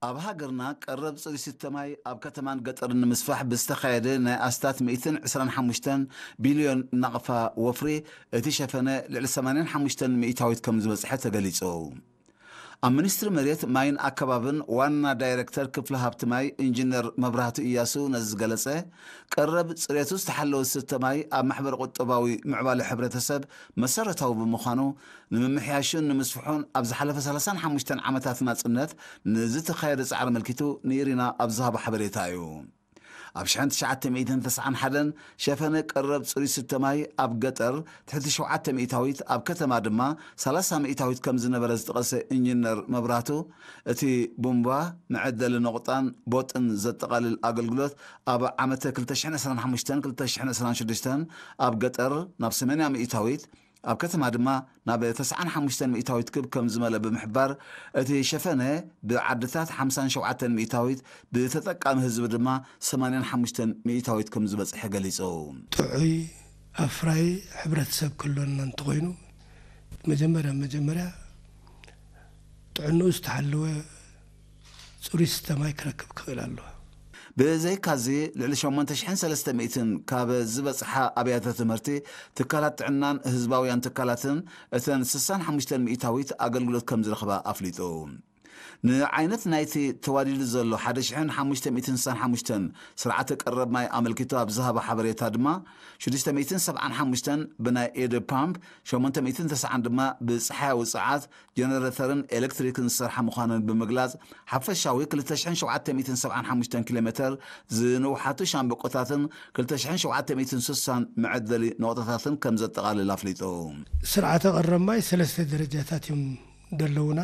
ኣብ ሃገርና ቀረብ ጽሩይ ስተ ማይ ኣብ ከተማን ገጠርን ንምስፋሕ ብዝተኻየደ ናይ ኣስታት ሚእትን ዕስራን ሓሙሽተን ቢልዮን ናቕፋ ወፍሪ፣ እቲ ሸፈነ ልዕሊ ሰማንያን ሓሙሽተን ሚእታዊት ከም ዝበጽሐ ተገሊጹ። ኣብ ሚኒስትሪ መሬት ማይን ኣከባብን ዋና ዳይሬክተር ክፍሊ ሃብቲ ማይ ኢንጂነር መብራህቱ እያሱ ነዚ ዝገለጸ፣ ቀረብ ጽሬቱ ዝተሓለወ ስተ ማይ ኣብ ማሕበረ ቁጠባዊ ምዕባለ ሕብረተሰብ መሰረታዊ ብምዃኑ፣ ንምምሕያሹን ንምስፍሑን ኣብ ዝሓለፈ ሰላሳን ሓሙሽተን ዓመታት ናጽነት ንዝተኻየደ ጻዕሪ ኣመልኪቱ ንኢሪና ኣብ ዝሃቦ ሓበሬታ እዩ። ኣብ ሽሕን ትሽዓተ ሚእትን ተስዓን ሓደን ሸፈነ ቀረብ ጽሩይ ስተ ማይ ኣብ ገጠር ትሕቲ ሸውዓተ ሚእታዊት፣ ኣብ ከተማ ድማ ሰላሳ ሚእታዊት ከም ዝነበረ ዝጠቐሰ ኢንጂነር መብራህቱ፣ እቲ ቡምባ፣ መዐደሊ ነቑጣን ቦጥን ዘጠቓልል ኣገልግሎት ኣብ ዓመተ ክልተ ሽሕን ዕስራን ሓሙሽተን ክልተ ሽሕን ዕስራን ሽዱሽተን ኣብ ገጠር ናብ ሰማንያ ሚእታዊት፣ ኣብ ከተማ ድማ ናብ ተስዓን ሓሙሽተን ሚእታዊት ክብ ከም ዝመለ ብምሕባር፣ እቲ ሸፈነ ብዓድታት ሓምሳን ሸውዓተን ሚእታዊት፣ ብተጠቃሚ ህዝቢ ድማ ሰማንያን ሓሙሽተን ሚእታዊት ከም ዝበጽሐ ገሊጹ። ጥዑይ ኣፍራይ ሕብረተሰብ ክህልወና እንተኾይኑ፣ መጀመርያ መጀመርያ ጥዕንኡ ዝተሓለወ ጽሩይ ስተ ማይ ክረክብ ክኽእል ኣለዎ። ብዘይካዚ፣ ልዕሊ ሸሞንተ ሽሕን ሰለስተ ሚእትን ካብ ዝበጽሓ ኣብያተ ትምህርቲ፣ ትካላት ጥዕናን ህዝባውያን ትካላትን እተን ስሳን ሓሙሽተን ሚእታዊት ኣገልግሎት ከም ዝረኽባ ኣፍሊጡ። ንዓይነት ናይቲ ተዋዲዱ ዘሎ ሓደ ሽሕን ሓሙሽተ ሚእትን ስሳን ሓሙሽተን ስርዓተ ቀረብ ማይ ኣመልኪቱ ኣብ ዝሃቦ ሓበሬታ ድማ፣ ሽዱሽተ ሚእትን ሰብዓን ሓሙሽተን ብናይ ኤድ ፓምፕ፣ ሸሞንተ ሚእትን ተስዓን ድማ ብጸሓያዊ ጸዓት፣ ጀነሬተርን ኤሌክትሪክን ዝሰርሓ ምዃነን ብምግላጽ፣ ሓፈሻዊ ክልተ ሽሕን ሸውዓተ ሚእትን ሰብዓን ሓሙሽተን ኪሎ ሜተር ዝንውሓቱ ሻምበቆታትን ክልተ ሽሕን ሸውዓተ ሚእትን ስሳን መዐደሊ ነቑጣታትን ከም ዘጠቓልል ኣፍሊጡ። ስርዓተ ቀረብ ማይ ሰለስተ ደረጃታት እዮም ዘለውና።